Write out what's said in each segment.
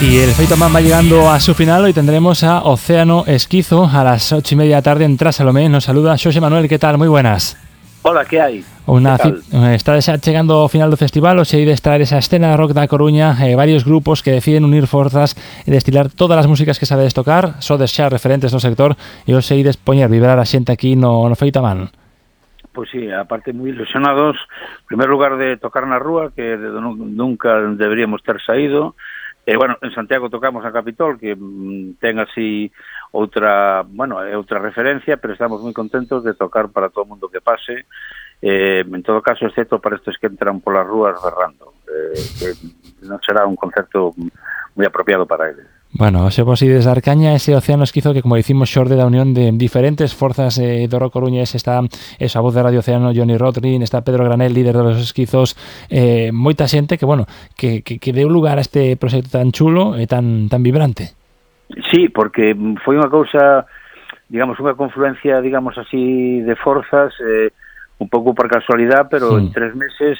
Y el Feito Man va llegando a su final. Hoy tendremos a Océano Esquizo a las 8:30 da tarde en Trasalomé. Nos saluda Xosé Manuel, ¿qué tal? Moi buenas. Hola, ¿qué hay? Está chegando ao final do festival. Hoxe hai de estar esa escena de rock da Coruña, varios grupos que deciden unir forzas e destilar todas as músicas que sabedes tocar. Sodes xa referentes no sector e hoxe hai de poñer vibrar a xente aquí no Feito Man. Pues sí, aparte muy ilusionados, en primer lugar de tocar na rúa, que nunca deberíamos ter saído. Bueno, en Santiago tocamos a Capitol, que ten así outra referencia, pero estamos moi contentos de tocar para todo o mundo que pase, en todo caso, excepto para estes que entran polas rúas berrando, que non será un concerto moi apropiado para eles. Bueno, se vos ides dar caña ese Océano Esquizo que, como dicimos, xorde da unión de diferentes forzas do rock coruñés. Está esa voz de Radio Océano, Johnny Rodrin, está Pedro Granel, líder de los Esquizos, moita xente que, bueno, que deu lugar a este proxecto tan chulo e tan vibrante. Sí, porque foi unha cousa, digamos, unha confluencia, digamos así, de forzas, un pouco por casualidade, pero en 3 meses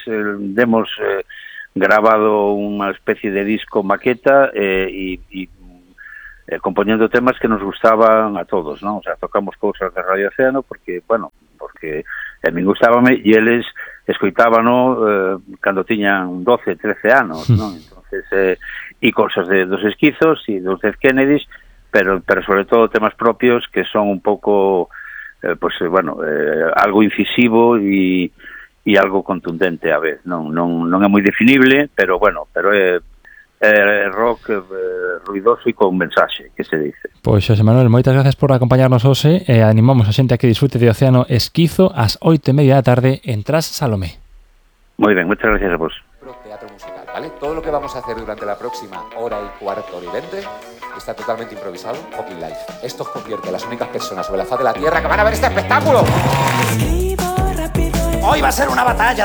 demos grabado unha especie de disco maqueta e compoñendo temas que nos gustaban a todos, ¿no? O sea, tocamos cousas de Radio Océano porque a min gustábame e eles escoitábano cando tiñan 12, 13 anos, ¿no? Entonces, e cousas dos Esquizos e dos Dead Kennedys, pero sobre todo temas propios que son un pouco, algo incisivo e algo contundente a vez. Non é moi definible, pero é rock ruidoso e con mensaxe, que se dice. Pois, Xosé Manuel, moitas gracias por acompañarnos hoxe e animamos a xente a que disfrute de Océano Esquizo ás 8:30 da tarde en Trasalomé. Moi ben, moitas gracias a vos. Teatro musical, ¿vale? Todo lo que vamos a hacer durante la próxima hora y cuarto, hora y 20 está totalmente improvisado, fucking live. Esto os convierte a las únicas personas sobre la faz de la Tierra que van a ver este espectáculo. Hoy va a ser una batalla